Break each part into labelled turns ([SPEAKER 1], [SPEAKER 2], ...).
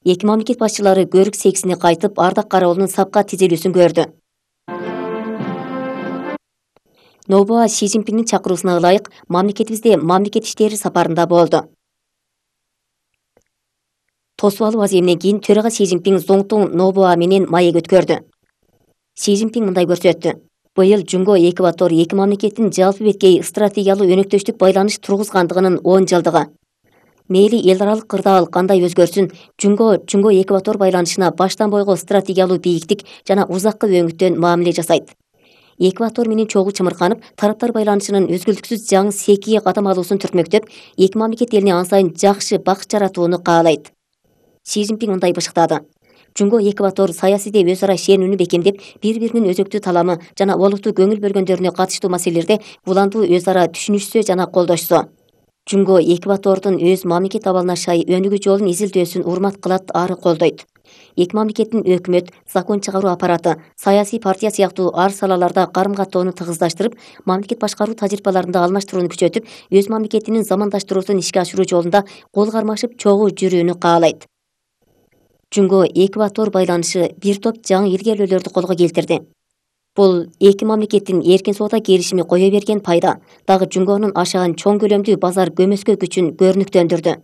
[SPEAKER 1] Эки мамлекет башчылары көрүк сексине кайтып, ардак карабалынын сапка тизилүүсүн көрдү. Нобуа Си Цзиньпиндин чакыруусуна ылайык мамлекетибизде мамлекет иштери сапарында болду. Тосуп алуу аземинен кийин төрага Си Цзиньпин Зоңтун Нобуа менен маек өткөрдү. Си Цзиньпин мындай көрсөттү. Быйыл Жунго Эквадор эки мамлекеттин жалпы беткей стратегиялык өнөктөштүк байланыш тургузгандыгынын 10 жылдыгы. Мейли эл аралык кырдаал кандай өзгөрсүн, Жунго Эквадор байланышына баштан бойго стратегиялык бийиктик жана узакка өңүттөн мамиле жасайт. Эквадор менен чогуу чымырканып, тараптар байланышынын үзгүлтүксүз жаңы секиге кадам алуусун түртмөктөп, эки мамлекет элине ан сайын жакшы бакыт жаратууну каалайт. Си Цзиньпин мындай бышыктады. Жунго Эквадор саясийде өз ара ишенүүнү бекемдеп, бири-биринин өзөктүү таламы жана олуттуу көңүл бөлгөндөрүнө катыштуу маселелерде уландуу өз ара түшүнүшсө жана колдошсо. Жунго Эквадордун өз мамлекет абалына шай өнүгүү жолун изилдөөсүн урмат кылат, ары колдойт. Эки мамлекеттин өкмөт, закон чыгаруу аппараты, саясий партия сыяктуу ар салаларда карым-каттоону тыгыздаштырып, мамлекет башкаруу тажрыйбаларында алмаштырууну күчөтүп, өз мамлекетинин замандаштыруусун ишке ашыруу жолунда кол кармашып чогуу жүрүүнү каалайт. Жунго Эквадор байланышы бир топ жаңы илгерүүлөрдү колго келтирди. Бул эки мамлекеттин эркин соода келишими кое берген пайда, дагы Жунгонун ашаган чоң көлөмдүү базар көмөскө күчүн көрүнүктөндүрдү.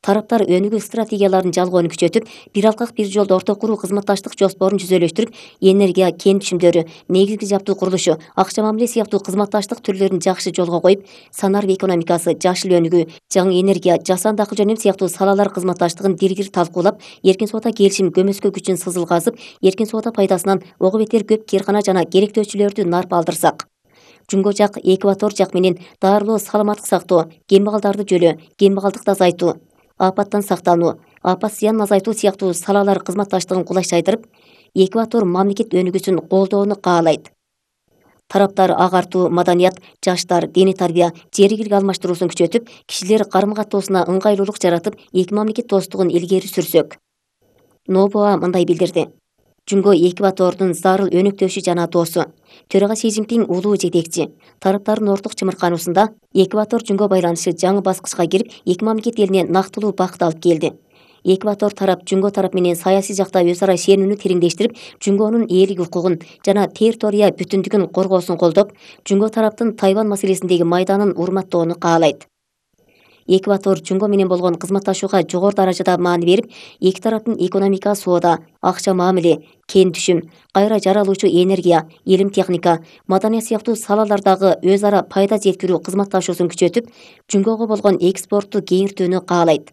[SPEAKER 1] Тараптар өнүгүү стратегияларын жалгоону күчөтүп, бир алкак бир жолдо орто куруу кызматташтык жоспорун жүзөлөштүрүп, энергия, кен түшүмдөрү, негизги жабдуу курулушу, акча мамиле сыяктуу кызматташтык түрлөрүн жакшы жолго коюп, санарбы экономикасы, жашыл өнүгүү, жаңы энергия, жасанды акыл жөнөм сыяктуу салалар кызматташтыгын диргир талкуулап, эркин соода келишим көмөскө күчүн сызылгазып, эркин соода пайдасынан ого бетер көп кыйыркана жана керектөөчүлөрдү нарп алдырсак. Жунго жак Эквадор жак менен дарылоо, саламаттык сактоо, кембагалдарды жөлөө, кембагалдыкты азайтуу, апаттан сактануу, апат зыянын азайтуу сыяктуу салалар кызматташтыгын кулайчайдырып, Эквадор мамлекет өнүгүүсүн колдоону каалайт. Тараптар агартуу, маданият, жаштар, диний тарбия, жер игилик алмаштыруусун күчөтүп, кишилер карым-каттоосуна ыңгайлуулук жаратып, эки мамлекет достугун илгери сүрсөк. Нобуа мындай билдирди. Жунго Эквадордун зарыл өнөктөшү жана досу. Төрага Си Цзиньпин улуу жетекчи. Тараптардын орток чымыркануусунда Эквадор Жунго байланышы жаңы баскычка кирип, эки мамлекет элине нактылуу бакыт алып келди. Эквадор тарап Жунго тарап менен саясий жакта өз ара ишенүүнү тереңдештирип, Жунгонун ээлик укугун жана территория бүтүндүгүн коргоосун колдоп, Жунго тараптын Тайвань маселесиндеги майданын урматтоону каалайт. Эквадор Жунго менен болгон кызматташууга жогору даражада маани берип, эки тараптын экономика, соода, акча мамиле, кен түшүм, кайра жаралуучу энергия, илим техника, маданият сыяктуу салалардагы өз ара пайда жеткирүү кызматташуусун күчөтүп, Жунгого болгон экспортту кеңиртүүнү каалайт.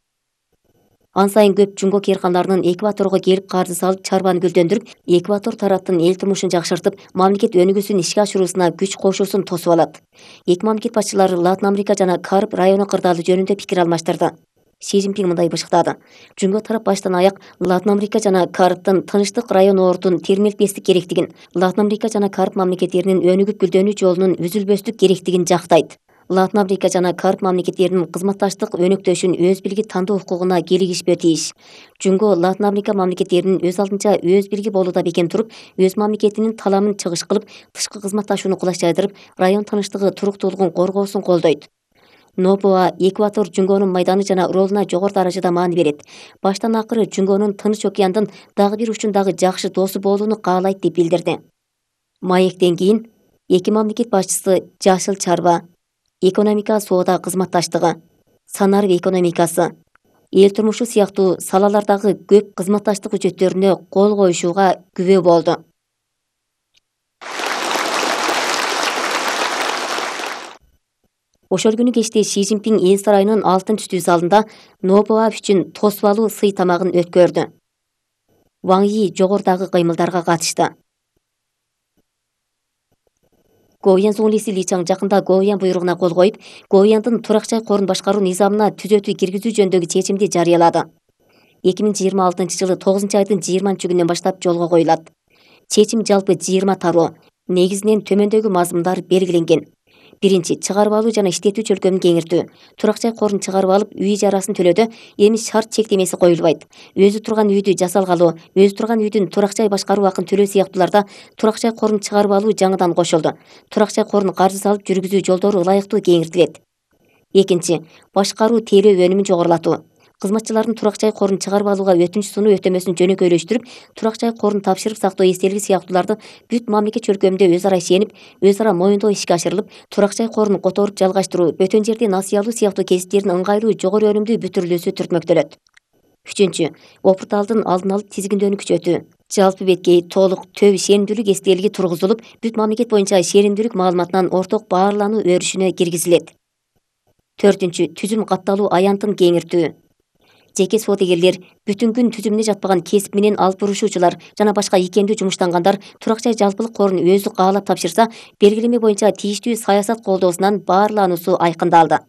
[SPEAKER 1] Ан сайын көп Жунго кыйырканаларынын Эквадорго келип каржы салып, чарбаны гүлдөндүрүп, Эквадор тараптын эл турмушун жакшыртып, мамлекет өнүгүүсүн ишке ашыруусуна күч кошуусун тосуп алат. Эки мамлекет башчылары Латын Америка жана Кариб району кырдаалы жөнүндө пикир алмаштырды. Си Цзиньпин мындай бышыктады. Жунго тарап баштан аяк Латын Америка жана Карибдин тынчтык району ордун термелтпестик керектигин, Латын Америка жана Кариб мамлекеттеринин өнүгүп гүлдөнүү жолунун үзүлбөстүк керектигин жактайт. Латын Америка жана Кариб мамлекеттеринин кызматташтык өнөктөшүн өз билги тандоо укугуна кийлигишпөө тийиш. Жунго Латын Америка мамлекеттеринин өз алдынча өз билги болууда бекем туруп, өз мамлекетинин таламын чыгыш кылып, тышкы кызматташууну кулайчайдырып, район тынчтыгы, туруктуулугун коргоосун колдойт. Нобуа Эквадор Жунгонун майданы жана ролуна жогору даражада маани берет. Баштан акыры Жунгонун Тынч океандын дагы бир учундагы жакшы досу болууну каалайт деп билдирди. Маектен кийин эки мамлекет башчысы жашыл чарба, экономика, соода кызматташтыгы, санарбы экономикасы, эл турмушу сыяктуу салалардагы көп кызматташтык үчөттөрүнө кол коюшууга күбө болду. Ошол күнү кечте Си Цзиньпин эл сарайынын алтын түстүү залында Нобуа үчүн тосуп алуу сый тамагын өткөрдү. Ваң Йи жогорудагы кыймылдарга катышты. Гоуян зуңлиси Ли Чаң жакында Гоуян буйругуна кол коюп, Гоуяндын турак жай корун башкаруу низамына түзөтүү киргизүү жөнүндөгү чечимди жарыялады. 2026-жылы 9-айдын 20-күнүнөн баштап жолго коюлат. Чечим жалпы 20 тароо, негизинен төмөндөгү мазмундар белгиленген. Биринчи, чыгарып алуу жана иштетүү чөлкөмүн кеңиртүү. Турак жай корун чыгарып алып, үй ижарасын төлөөдө эми шарт чектемеси коюлбайт. Өзү турган үйдү жасалгалоо, өзү турган үйдүн турак жай башкаруу акын төлөө сыяктууларда турак жай корун чыгарып алуу жаңыдан кошулду. Турак жай корун каржы салып жүргүзүү жолдору ылайыктуу кеңиртилет. Экинчи, башкаруу тейлөө өнүмүн жогорулатуу. Кызматчылардын турак жай корун чыгарып алууга өтүнүч сунуу өтөмөсүн жөнөкөйлөштүрүп, турак жай корун тапшырып сактоо эстелиги сыяктууларды бүт мамлекет чөлкөмүндө өз ара ишенип, өз ара моюндоо ишке ашырылып, турак жай корун которуп жалгаштыруу, бөтөн жерди насыя алуу сыяктуу кесиптердин ыңгайлуу жогору өнүмдүү бүтүрүлүүсү түртмөктөлөт. Үчүнчү, опурталдын алдын алып тизгиндөөнү күчөтүү. Жалпы беткей, толук, төп ишенимдүүлүк эстелиги тургузулуп, бүт мамлекет боюнча ишенимдүүлүк маалыматынан орток баарлануу өрүшүнө киргизилет. Төртүнчү, түзүм катталуу аянтын кеңиртүү. Жеке содегерлер, бүтүн күн түзүмүнө жатпаган кесип менен алып бурушуучулар жана башка ийкемдүү жумуштангандар турак жай жалпылык корун өзү каалап тапшырса, белгилеме боюнча тийиштүү саясат колдоосунан баарлануусу айкындалды.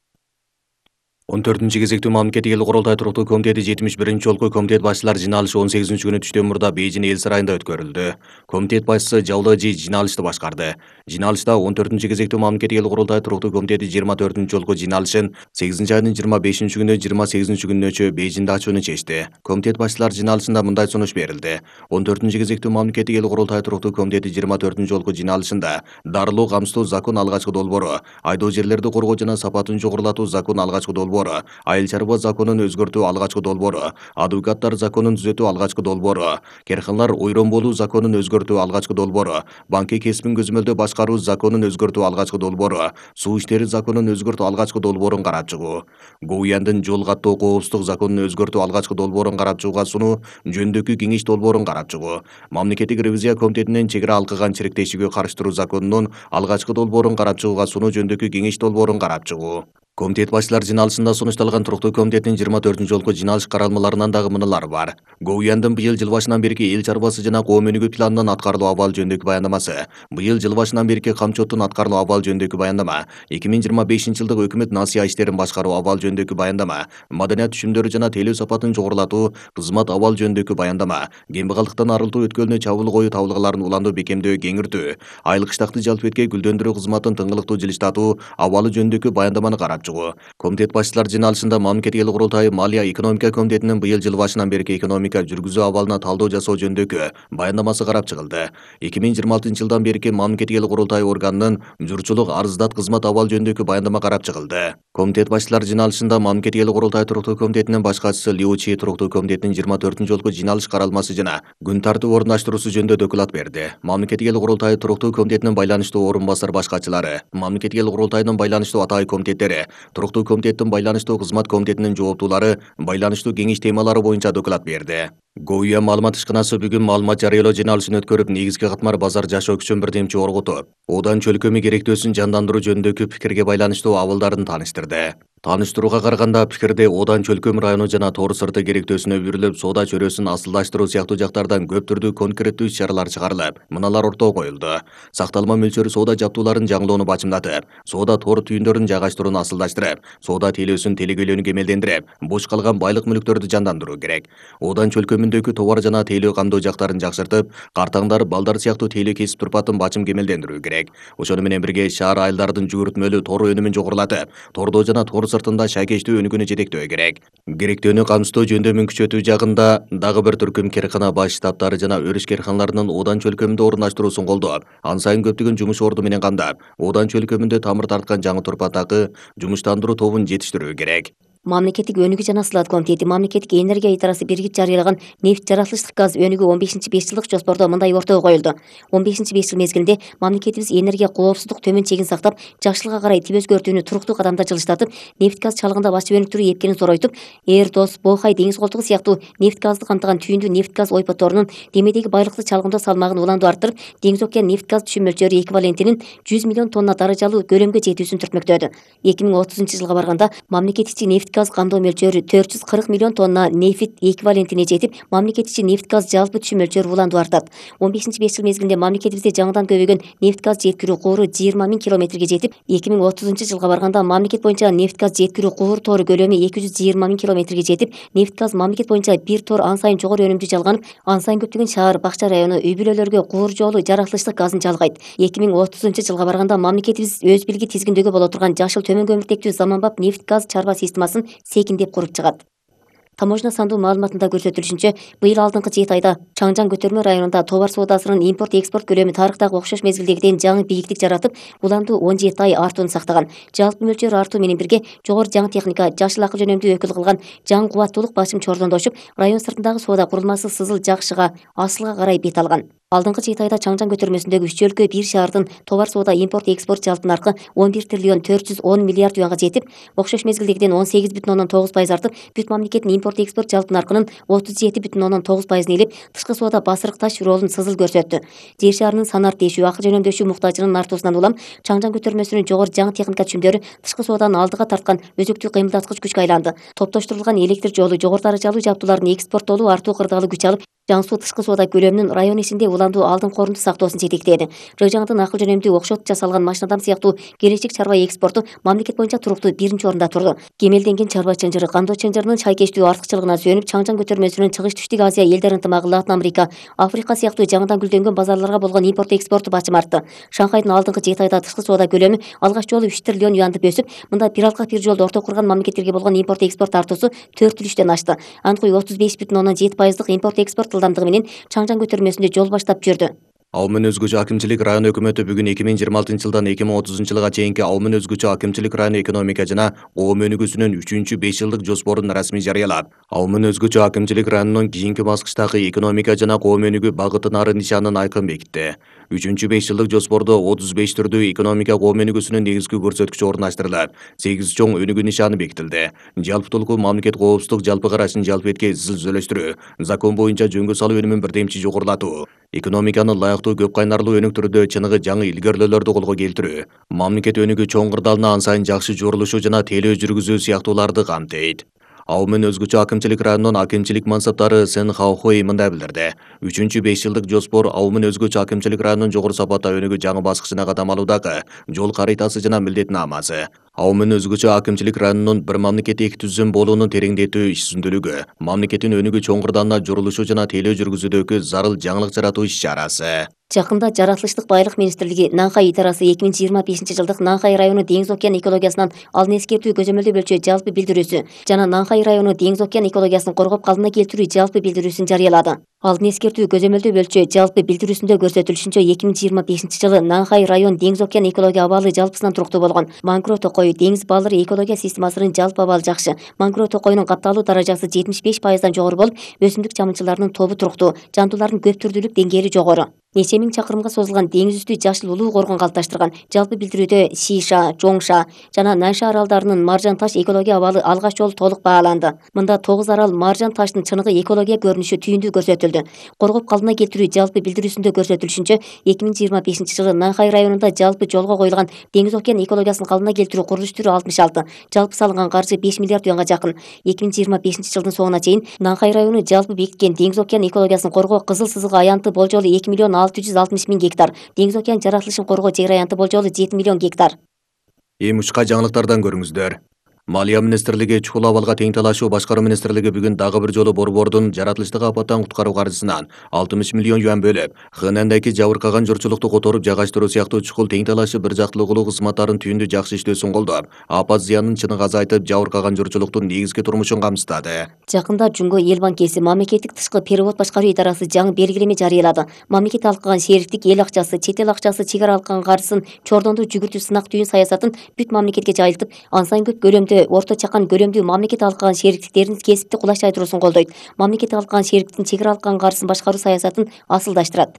[SPEAKER 2] 14-кезектүү мамлекеттик эл курултай туруктуу комитети 71-ci жолку комитет башчылар жыйналышы 18 күнү түштөн мурда Бейжин эл сарайында өткөрүлдү. Комитет башчысы Жаулы Жи жыйналышты башкарды. Жыйналышта 14-кезектүү мамлекеттик эл курултай туруктуу комитети 24-ci жолку жыйналышын 8-айдын 25 күнү 28 күнүнөчө Бейжинде ачууну чечти. Комитет башчылар жыйналышында мындай сунуш берилди. 14-кезектүү мамлекеттик эл курултай туруктуу комитети 24-ci жолку жыйналышында дарылоо камсыздоо закон алгачкы долбоору, айдоо жерлерди коргоо жана сапатын жогорулатуу закон алгачкы долбоору, айыл чарба законун өзгөртүү алгачкы долбоору, адвокаттар законун түзөтүү алгачкы долбоору, керканалар ойрон болуу законун өзгөртүү алгачкы долбоору, банки кесибин көзөмөлдөө башкаруу законун өзгөртүү алгачкы долбоору, суу иштери законун өзгөртүү алгачкы долбоорун карап чыгуу, ГУЯндын жол каттоо коопсуздук законун өзгөртүү алгачкы долбоорун карап чыгууга сунуу жөнүндөгү кеңеш долбоорун карап чыгуу, мамлекеттик ревизия комитетинин чек ара алкыган чириктешүүгө карыштыруу законунун алгачкы долбоорун карап чыгууга сунуу жөнүндөгү кеңеш долбоорун карап чыгуу. Комитет башчылар жыйналышында сунушталган туруктуу комитеттин 24-ci жолку жыйналыш каралмаларынан дагы мыналар бар. ГУЯндын быйыл жыл башынан берки эл чарбасы жана коом өнүгүү планынын аткарылуу абалы жөнүндөгү баяндамасы, быйыл жыл башынан берки камчоттун аткарылуу абалы жөнүндөгү баяндама, 2025-жылдык өкмөт насыя иштерин башкаруу абалы жөнүндөгү баяндама, маданият түшүмдөрү жана тейлөө сапатын жогорулатуу кызмат абалы жөнүндөгү баяндама, кембагалдыктан арылтуу өткөлүнө чабуул коюу табылгаларын уландуу бекемдөө кеңиртүү, айыл кыштакты жалпы беткей гүлдөндүрүү кызматын тыңгылыктуу жылыштатуу абалы жөнүндөгү баяндаманы карап чыгуу. Комитет башчылар жыйналышында мамлекеттик эл курултайы Малия экономика комитетинин быйыл жыл башынан берки экономика жүргүзүү абалына талдоо жасоо жөнүндөгү баяндамасы карап чыгылды. 2026-жылдан берки мамлекеттик эл курултайы органынын журчулук арыздат кызмат абалы жөнүндөгү баяндама карап чыгылды. Комитет башчылар жыйналышында мамлекеттик эл курултайы туруктуу комитетинин баш катчысы Лиу Чи туруктуу комитетинин 24-ci жолку жыйналыш каралмасы жана күн тартип орундаштыруусу жөнүндө доклад берди. Мамлекеттик эл курултайы туруктуу комитетинин байланыштуу орун басар баш катчылары, мамлекеттик эл курултайынын байланыштуу атайын комитеттери, туруктуу комитеттин байланыштуу кызмат комитетинин жооптуулары байланыштуу кеңеш темалары боюнча доклад берди. ГУЯ маалымат ишканасы бүгүн маалымат жарыялоо жыйналышын өткөрүп, негизги катмар базар жашоо күчүн бирдемчи оргутуп, Одан чөлкөмү керектөөсүн жандандыруу жөнүндөгү пикирге байланыштуу абалдарын тааныштырды. Тааныштырууга караганда пикирде Одан чөлкөм району жана тоор сырты керектөөсүнө бүрүлүп, соода чөрөсүн асылдаштыруу сыяктуу жактардан көп түрдүү конкреттүү иш-чаралар чыгарылып, мыналар ортого коюлду. Сакталма мөлчөрү соода жабдууларын жаңылоону бачымдатып, соода тоор түйүндөрүн жайгаштырууну асылдаштырып, соода тейлөөсүн телегөйлөөнү кемелдендирип, бош калган байлык мүлктөрдү жандандыруу керек. Одан чөлкөмүндөгү товар жана тейлөө камдоо жактарын жакшыртып, картаңдар, балдар сыяктуу тейлөө кесип турпатын бачым кемелдендирүү керек. Ошону менен бирге шаар айылдардын жүгүртмөлүү тоор өнүмүн жогорулатып, тордо жана тоор сыртында шайкечтүү өнүгүүнү жетектөө керек. Керектөөнү камсыздоо жөндөмүн күчөтүү жагында дагы бир түркүм керкана баш штабтары жана өрүш керканаларынын Одан чөлкөмүндө орундаштыруусун колдоп, ан сайын көптөгөн жумуш орду менен камдап, Одан чөлкөмүндө тамыр тарткан жаңы турпатакы жумуштандыруу тобун жетиштирүү керек.
[SPEAKER 1] Мамлекеттик өнүгүү жана сылат комитети мамлекеттик энергия идарасы биригип жарыялаган нефть жаратылыштык газ өнүгүү 15 5 жылдык жоспордо мындай ортого коюлду. 15 5 жыл мезгилинде мамлекетибиз энергия коопсуздук төмөн чегин сактап, жакшылыкка карай тип өзгөртүүнү туруктуу кадамда жылыштатып, нефть газ чалыгында бачып өнүктүрүү эпкенин зоройтуп, Эрдос, Бохай деңиз колтугу сыяктуу нефть газды камтыган түйүндүү нефть газ ойпотторунун демедеги байлыкты чалгындоо салмагын уланду арттырып, Деңиз океан нефть газ түшүм мөлчөрү эквивалентинин 100 миллион тонна даражалуу көлөмгө жетүүсүн түртмөктөдү. 2030-жылга барганда мамлекет ичи нефть газ камдоо мөлчөрү 440 миллион тонна нефть эквивалентине жетип, мамлекет ичи нефть газ жалпы түшүм мөлчөрү уланду артат. 15 5 жыл мезгилинде мамлекетибизде жаңыдан көбөйгөн нефть газ жеткирүү кууру 20 000 километрге жетип, 2030-жылга барганда мамлекет боюнча нефть газ жеткирүү куур тоору көлөмү 220 000 километрге жетип, нефть газ мамлекет боюнча бир тоор ан сайын жогору өнүмдүү жалганып, ан сайын көптөгөн шаар, бакча району, үй бүлөлөргө куур жолу жаратылыштык газын жалгайт. 2030-жылга барганда мамлекетибиз өз билги тизгиндөөгө боло турган жашыл төмөн көмүртектүү заманбап нефть газ чарба системасын секиндеп куруп чыгат. Таможня сандуу маалыматында көрсөтүлүшүнчө, быйыл алдыңкы 7 айда Чаңжан көтөрмө районунда товар соодасынын импорт-экспорт көлөмү тарыхтагы окшош мезгилдегиден жаңы бийиктик жаратып, уланду 17 ай артууну сактаган. Жалпы мөлчөр артуу менен бирге жогору жаңы техника, жашыл акы жөнөмдүү өкүл кылган жаңы кубаттуулук басым чордондошуп, район сыртындагы соода курулмасы Сызыл Жакшыга, Асылга карай бет алган. Алдыңкы 7 айда Чаңжан көтөрмөсүндөгү 3 өлкө 1 шаардын товар соода импорт-экспорт жалпы наркы 11 триллион 410 миллиард юанга жетип, окшош мезгилдегиден 18,9% артып, бүт мамлекеттин импорт-экспорт жалпы наркынын 37,9% ээлеп, тышкы соода басырык таш ролун Сызыл көрсөттү. Жер шаарынын санар тешүү, акы жөнөмдөшүү муктажынын артуусунан улам Чаңжан көтөрмөсүнүн жогору жаңы техника түшүмдөрү тышкы сооданы алдыга тарткан өзөктүү кыймылдаткыч күчкө айланды. Топтоштурулган электр жолу, жогору даражалуу жабдуулардын экспорттолуу артуу кырдаалы күч алып, жаңсуу тышкы соода көлөмүнүн район ичинде уланду алдыңкы орунду сактоосун жетектеди. Рыжаңдын акыл жөнөмдүү окшот жасалган машинадам сыяктуу келечек чарба экспорту мамлекет боюнча туруктуу 1-чи орунда турду. Кемелденген чарба чынжыры, кандоо чынжырынын шайкештүү артыкчылыгына сүйөнүп, Чаңжан көтөрмөсүнүн Чыгыш Түштүк Азия элдер ынтымагы, Латын Америка, Африка сыяктуу жаңыдан гүлдөнгөн базарларга болгон импорт-экспорту бачым артты. Шанхайдын алдыңкы 7 айда тышкы соода көлөмү алгач жолу 3 триллион юандып өсүп, мында бир алкак бир жолду орток курган мамлекеттерге болгон импорт-экспорт артуусу 4,3-төн ашты. Анткой 35,7% импорт-экспорт ылдамдыгы менен Чаңжан көтөрмөсүндө жол баштап жүрдү.
[SPEAKER 2] Аумен өзгөчө акимчилик район өкмөтү бүгүн 2026 жылдан 2030 жылга чейинки Аумен өзгөчө акимчилик район экономика жана коом өнүгүүсүнүн 3-5 жылдык жоспорун расмий жарыялап, Аумен өзгөчө акимчилик районунун кийинки баскычтагы экономика жана коом өнүгүү багытын ары нишанын айкын бекитти. 3-5 жылдык жоспордо 35 түрдүү экономика коом өнүгүүсүнүн негизги көрсөткүчү орундаштырылып, 8 чоң өнүгүү нишаны бекитилди. Жалпытуулуку мамлекет коопсуздук жалпы карашын жалпы этке изилдөөлөштүрүү, закон боюнча жөнгө салуу өнүмүн бирдемчи жогорулатуу, экономиканы лайыктуу көп кайнарлуу өнүктүрүүдө чыныгы жаңы илгөрлөөлөрдү колго келтирүү, мамлекет өнүгүү чоң кырдаалына ан сайын жакшы жорулушу жана тейлөө жүргүзүү сыяктууларды камтыйт. Аумен өзгөчө акимчилик районунун акимчилик мансаптары Сен Хаохуэй мындай билдирди. 3-5 жылдык жоспор Аумен өзгөчө акимчилик районунун жогору сапатта өнүгүү жаңы баскычына кадам алуудагы жол каритасы жана милдетнамасы. Аумен өзгөчө акимчилик районунун бир мамлекет эки түзүм болуунун тереңдетүү иш-сүзүндүүлүгү, мамлекеттин өнүгүү чоң кырдаалына жорулушу жана тейлөө жүргүзүүдөгү зарыл жаңылык жаратуу иш-чарасы.
[SPEAKER 1] Жакында Жаратылыштык байлык министрлиги Нанхай идарасы 2025 жылдык Нанхай району деңиз океан экологиясынан алын эскертүү көзөмөлдөө бөлчө жалпы билдирүүсү жана Нанхай району деңиз океан экологиясын коргоп калыбына келтирүү жалпы билдирүүсүн жарыялады. Алын эскертүү көзөмөлдөө бөлчө жалпы билдирүүсүндө көрсөтүлүшүнчө 2025 жылы Нанхай район деңиз океан экология абалы жалпысынан туруктуу болгон. Мангро токой деңиз балдыры экология системасынын жалпы абалы жакшы. Мангро токойнун капталуу даражасы 75%дан жогору болуп, өсүмдүк жамынчыларынын тобу туруктуу, жандуулардын көп түрдүүлүк деңгээли жогору. Нече миң чакырымга созулган деңиз үстү жашыл улуу коргон калыпташтырган. Жалпы билдирүүдө Сиша, Жоңша жана Нанша аралдарынын маржан таш экология абалы алгач жолу толук бааланды. Мында 9 арал маржан таштын чыныгы экология көрүнүшү түйүндүү көрсөтүлдү. Коргоп калыбына келтирүү жалпы билдирүүсүндө көрсөтүлүшүнчө 2025 жылы Нанхай районунда жалпы жолго коюлган деңиз океан экологиясын калыбына келтирүү курулуш түрү 66. Жалпы салынган каржы 5 миллиард юанга жакын. 2025 жылдын соңуна чейин Нанхай району жалпы бекиткен деңиз океан экологиясын коргоо кызыл сызык аянты болжолу 2 миллион 660 миң гектар, деңиз океан жаратылышын коргоо чек аянты болжолу 7 миллион гектар.
[SPEAKER 2] Эми учка жаңылыктардан көрүңүздөр. Малия министрлиги чукул абалга тең талашуу башкаруу министрлиги бүгүн дагы бир жолу борбордун жаратылыштык апаттан куткаруу каржысынан 60 миллион юан бөлүп, Хэнандагы жабыркаган журчулукту которуп жагачтыруу сыяктуу чукул тең талашуу бир жактылуулуу кызматтарын түйүндүү жакшы иштөөсүн колдоп, апат зыянын чыныгы азайтып, жабыркаган журчулуктун негизги турмушун камсыздады.
[SPEAKER 1] Жакында Жунго эл банкеси мамлекеттик тышкы перевод башкаруу идарасы жаңы белгилеме жарыялады. Мамлекет алкаган шериктик эл акчасы, чет эл акчасы чек ара алкаган каржысын чордондуу жүгүртүү сынак түйүн саясатын бүт мамлекетке жайылтып, ан сайын көп көлөмдө орто чакан көлөмдүү мамлекет алкаган шериктиктерин кесипти кулачтайдыруусун колдойт. Мамлекет алкаган шериктиктин чек ара алкаган каржысын башкаруу саясатын асылдаштырат.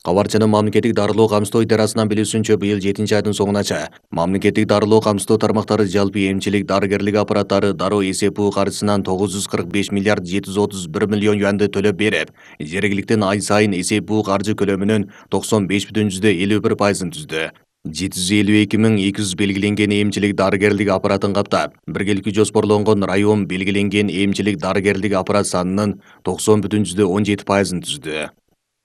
[SPEAKER 2] Кабарчынын мамлекеттик дарылоо камсыздоо идарасынан билүүсүнчө, быйыл 7 айдын соңунача мамлекеттик дарылоо камсыздоо тармактары жалпы эмчилик дарыгерлик аппараттары дароо эсеп буу каржысынан 945 миллиард 731 миллион юанды төлөп берип, жергиликтен ай сайын эсеп буу каржы көлөмүнүн 95,51%-ын түздү. 752.200 белгиленген эмчилик дарыгерлик аппаратын каптап, биргеликти жоспорлонгон район белгиленген эмчилик дарыгерлик аппарат санынын 90,17%-ын түздү.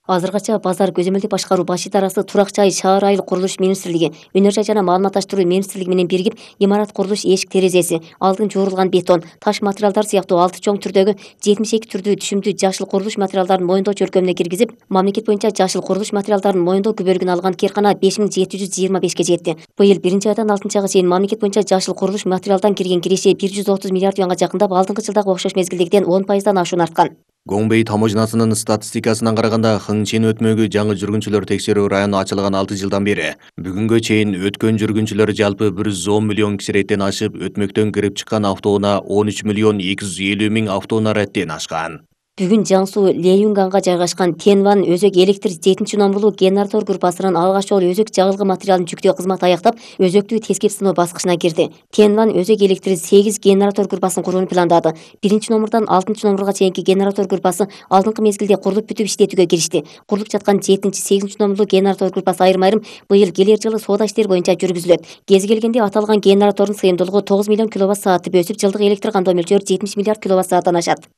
[SPEAKER 1] Азыркача базар көзөмөлдүк башкаруу баш идарасы Турак жай шаар айыл курулуш министрлиги, Өнөр жай жана маалыматташтыруу министрлиги менен биригип имарат курулуш эшик терезеси, алдын жуурулган бетон, таш материалдар сыяктуу 6 чоң түрдөгү 72 түрдүү түшүмдүү жашыл курулуш материалдарын моюндоо чөлкөмүнө киргизип, мамлекет боюнча жашыл курулуш материалдарын моюндоо күбөлүгүн алган кээркана 5725-ке жетти. Быйыл 1-айдан 6-айга чейин мамлекет боюнча жашыл курулуш материалдан кирген киреше 130 миллиард юанга жакындап, алдыңкы жылдагы окшош мезгилдегиден 10% ашуун арткан.
[SPEAKER 2] Гомбей таможнасынын статистикасына караганда Хыңчен өтмөгү жаңы жүргүнчүлөр текшерүү району ачылган 6 жылдан бери бүгүнгө чейин өткөн жүргүнчүлөр жалпы 110 миллион киши реттен ашып, өтмөктөн кирип чыккан автоунаа 13 миллион 250 миң автоунаа реттен ашкан.
[SPEAKER 1] Бүгүн Жаңсуу Леюнганга жайгашкан Тенван өзөк электр 7 номерлуу генератор группасынын алгач жолу өзөк жагылгы материалын жүктөө кызматы аяктап, өзөктү тескеп сыноо баскычына кирди. Тенван өзөк электр 8 генератор группасын курууну пландады. 1-номердон 6-номерга чейинки генератор группасы алдыңкы мезгилде курулуп бүтүп иштетүүгө киришти. Курулуп жаткан 7-8 номерлуу генератор группасы айрым-айрым быйыл келер жылы соода иштери боюнча жүргүзүлөт. Кези келгенде аталган генератордун сыйымдуулугу 9 миллион киловатт-саатты өсүп, жылдык электр кандоо мөлчөрү 70 миллиард киловатт-сааттан ашат.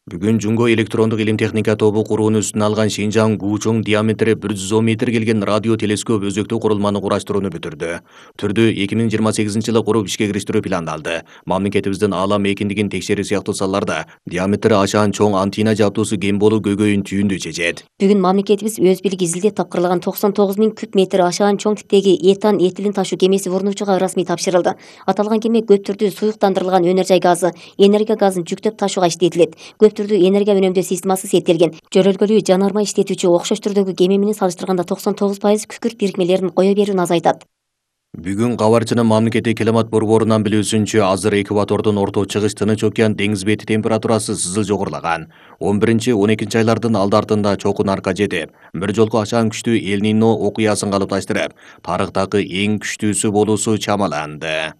[SPEAKER 2] Бүгүн Жунго электрондук илим техника тобу курууну үстүнө алган Шинжаң Гучоң диаметри 110 метр келген радио телескоп өзөктүү курулманы кураштырууну бүтүрдү. Түрдү 2028-жылы куруп ишке кириштирүү пландалды. Мамлекетибиздин аалам эркиндигин текшерүү сыяктуу салаларда диаметри ашаан чоң антенна жабдуусу кем болуу көйгөйүн түйүндү чечет.
[SPEAKER 1] Бүгүн мамлекетибиз өз бийлиги изилдеп тапкырлаган 99 миң куб метр ашаан чоң типтеги этан этилин ташуу кемеси Вурнучуга расмий тапшырылды. Аталган кеме көп түрдүү суюктандырылган өнөр жай газы, энергия газын жүктөп ташууга иштетилет. Энергия үнөмдөө системасы сеттелген. Жөрөлгөлүү жанармай иштетүүчү окшош түрдөгү кеме менен салыштырганда 99% күкүрт бирикмелерин кое берүүнү азайтат.
[SPEAKER 2] Бүгүн кабарчынын мамлекеттик климат борборунан билүүсүнчө, азыр экватордун орто чыгыш Тынч океан деңиз бети температурасы сызыл жогорулаган. 11-12 айлардын алды артында чокун арка жетип, бир жолку ашаан күчтүү Эль-Нино окуясын калыпташтырып, тарыхтагы эң күчтүүсү болуусу чамаланды.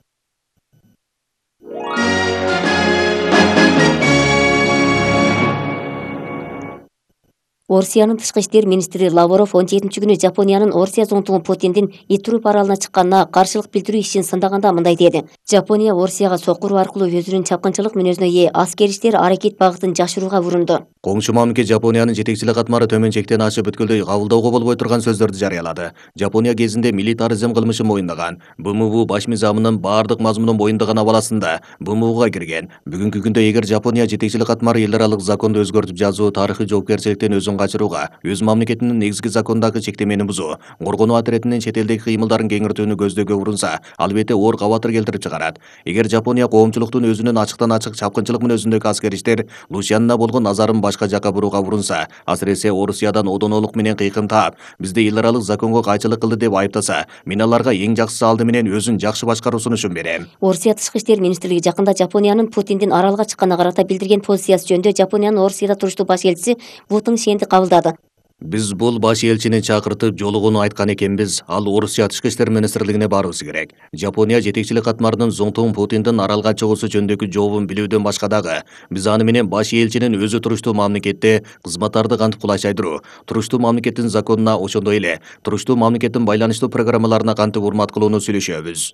[SPEAKER 1] Орусиянын тышкы иштер министри Лавров 17-күнү Жапониянын Орусия зонтугу Путиндин Итуруп аралына чыкканына каршылык билдирүү ишин сындаганда мындай деди. Жапония Орусияга сокуруу аркылуу өзүнүн чапкынчылык мүнөзүнө ээ аскер иштер аракет багытын жашырууга урунду.
[SPEAKER 2] Коңшу мамлекет Жапониянын жетекчилик катмары төмөн чектен ашып бүткүлдөй кабылдоого болбой турган сөздөрдү жарыялады. Жапония кезинде милитаризм кылмышын моюндаган, БМУ баш мыйзамынын баардык мазмунун моюндаган абаласында БМУга кирген. Бүгүнкү күндө эгер Жапония жетекчилик катмары эл аралык законду өзгөртүп жазуу, тарыхый жоопкерчиликтен өзүн качырууга, өз мамлекетинин негизги закондагы чектемени бузуу, коргонуу атретинин чет элдеги кыймылдарын кеңиртүүнү көздөөгө урунса, албетте оор кабатыр келтирип чыгарат. Эгер Жапония коомчулуктун өзүнүн ачыктан ачык чапкынчылык мүнөзүндөгү аскер иштер Лусиянына болгон назарын башка жака бурууга урунса, асыресе Орусиядан одонолук менен кыйкым таап, бизди эл аралык законго кайчылык кылды деп айыптаса, мен аларга эң жакшысы алды менен өзүн жакшы башкаруу сунушун берем.
[SPEAKER 1] Орусия тышкы иштер министрлиги жакында Жапониянын Путиндин аралга чыкканына карата билдирген позициясы жөнүндө Жапониянын Орусияда туруштуу баш элчиси Вутың Шенди кабылдады.
[SPEAKER 2] Биз бул баш элчини чакыртып жолугууну айткан экенбиз. Ал Орусия тышкы иштер министрлигине барыбыз керек. Жапония жетекчилик катмарынын зонтугун Путиндин аралга чыгуусу жөнүндөгү жообун билүүдөн башка дагы биз аны менен баш элчинин өзү туруштуу мамлекетте кызматтарды кантип кулайчайдыруу, туруштуу мамлекеттин законуна, ошондой эле туруштуу мамлекеттин байланыштуу программаларына кантип урмат кылууну сүйлөшөбүз.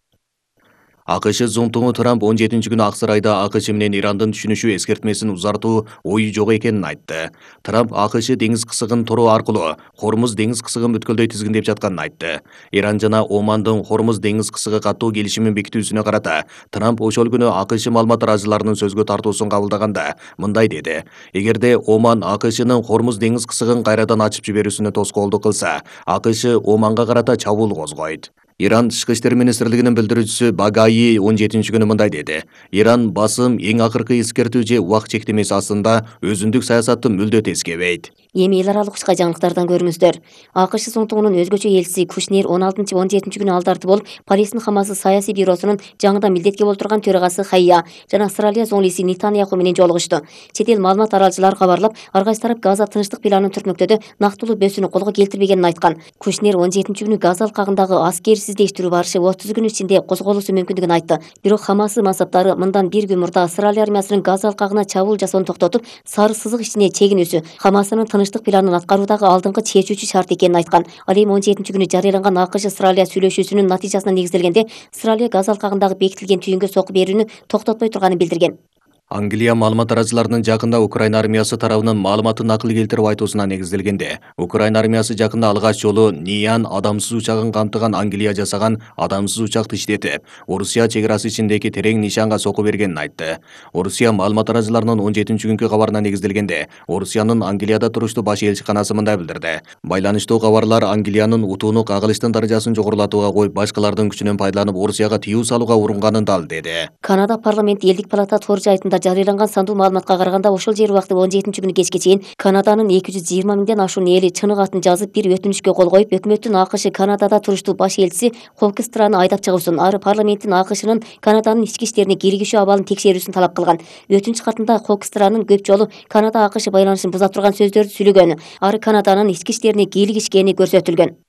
[SPEAKER 2] АКШ зонтугу Трамп 17-күнү ак сарайда АКШ менен Ирандын түшүнүшүү эскертмесин узартуу ою жок экенин айтты. Трамп АКШ деңиз кысыгын тороо аркылуу Хормуз деңиз кысыгын бүткүлдөй тизгиндеп жатканын айтты. Иран жана Омандын Хормуз деңиз кысыгы каттоо келишимин бекитүүсүнө карата Трамп ошол күнү АКШ маалымат арачыларынын сөзгө тартуусун кабылдаганда мындай деди. Эгерде Оман АКШнын Хормуз деңиз кысыгын кайрадан ачып жиберүүсүнө тоскоолдук кылса, АКШ Оманга карата чабуул козгойт. Иран тышкы иштер министрлигинин билдирүүчүсү Багаи 17-күнү мындай деди. Иран басым эң акыркы эскертүү же убак чектемеси астында өзүндүк саясатты мүлдө тескебейт.
[SPEAKER 1] Эми эл аралык учка жаңылыктардан көрүңүздөр. АКШ зонтугунун өзгөчө элчиси Кушнер 16-17-күнү алдарты болуп, Палестин Хамасы саясий бюросунун жаңыдан милдетке болтурган төрагасы Хайя жана Австралия зоңлиси Нетаньяху менен жолугушту. Чет эл маалымат аралчылары кабарлап, ар кайсы тарап Газа тынчтык планын түртмөктөдө нактылуу бөсүүнү колго келтирбегенин айткан. Кушнер 17-күнү Газа алкагындагы аскер сиздештирүү барышы 30 күн ичинде козголуусу мүмкүндүгүн айтты. Бирок Хамасы мансаптары мындан бир күн мурда Австралия армиясынын Газа алкагына чабуул жасоону токтотуп, сары сызык ичине чегинүүсү Хамасынын тынчтык планын аткаруудагы алдыңкы чечүүчү шарт экенин айткан. Ал эми 17-күнү жарыяланган АКШ Австралия сүйлөшүүсүнүн натыйжасына негизделгенде Австралия Газа алкагындагы бекитилген түйүнгө сокку берүүнү токтотпой турганын билдирген.
[SPEAKER 2] Англия маалымат таратууларынын жакында Украина армиясы тарабынан маалыматтын акыл келтирип айтуусуна негизделгенде, Украина армиясы жакында алгач жолу Ниан адамсыз учагын камтыган Англия жасаган адамсыз учакты иштетип, Орусия чек арасы ичиндеги терең нишанга соку бергенин айтты. Орусия маалымат таратууларынын 17-күнкү кабарына негизделгенде, Орусиянын Англияда туруштуу баш элчиканасы мындай билдирди. Байланыштуу кабарлар Англиянын утууну кагылыштын даражасын жогорулатууга коюп, башкалардын күчүнөн пайдаланып Орусияга тыюу салууга урунганын дал деди.
[SPEAKER 1] Канада парламенти элдик палата тор жайтында жарыяланган сандуу маалыматка караганда, ошол жер убакыты 17-күнү кечке чейин Канаданын 220 миңден ашуун эли чынык атын жазып бир өтүнүчкө кол коюп, өкмөттүн АКШ Канадада туруштуу баш элчиси Хокстраны айдап чыгуусун, ары парламенттин АКШнын Канаданын ички иштерине киргизүү абалын текшерүүсүн талап кылган. Өтүнүч катында Хокстранын көп жолу Канада АКШ байланышын буза турган сөздөрдү сүйлөгөнү, ары Канаданын ички иштерине кийлигишкени көрсөтүлгөн.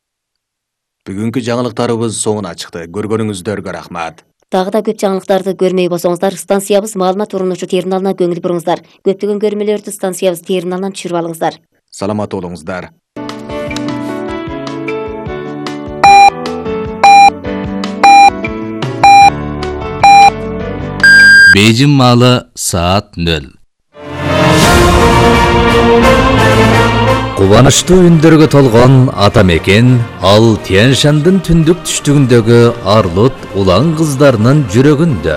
[SPEAKER 2] Бүгүнкү жаңылыктарыбыз соңуна чыкты. Көргөнүңүздөргө рахмат.
[SPEAKER 1] Дагы да көп жаңылыктарды көрмөй болсоңуздар, станциябыз маалымат урунуучу терминалына көңүл буруңуздар. Көптөгөн көрмөлөрдү станциябыз терминалынан түшүрүп алыңыздар.
[SPEAKER 2] Саламат болуңуздар.
[SPEAKER 3] Бейжин маалы саат 0. Кубанычтуу үндөргө толгон ата мекен ал Тянь-Шандын түндүк түштүгүндөгү Арлут улан кыздарынын жүрөгүндө.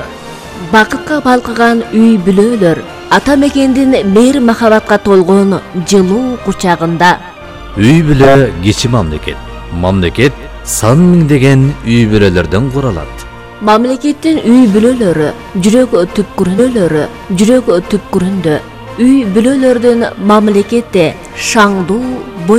[SPEAKER 4] Бакытка балкыган үй бүлөлөр ата мекендин мейир махабатка толгон жылуу кучагында.
[SPEAKER 3] Үй бүлө кичи мамлекет. Мамлекет сан миңдеген үй бүлөлөрдөн куралат.
[SPEAKER 4] Мамлекеттин үй бүлөлөрү жүрөк түпкүрүндө. Үй бүлөлөрдүн мамлекетте шаңдуу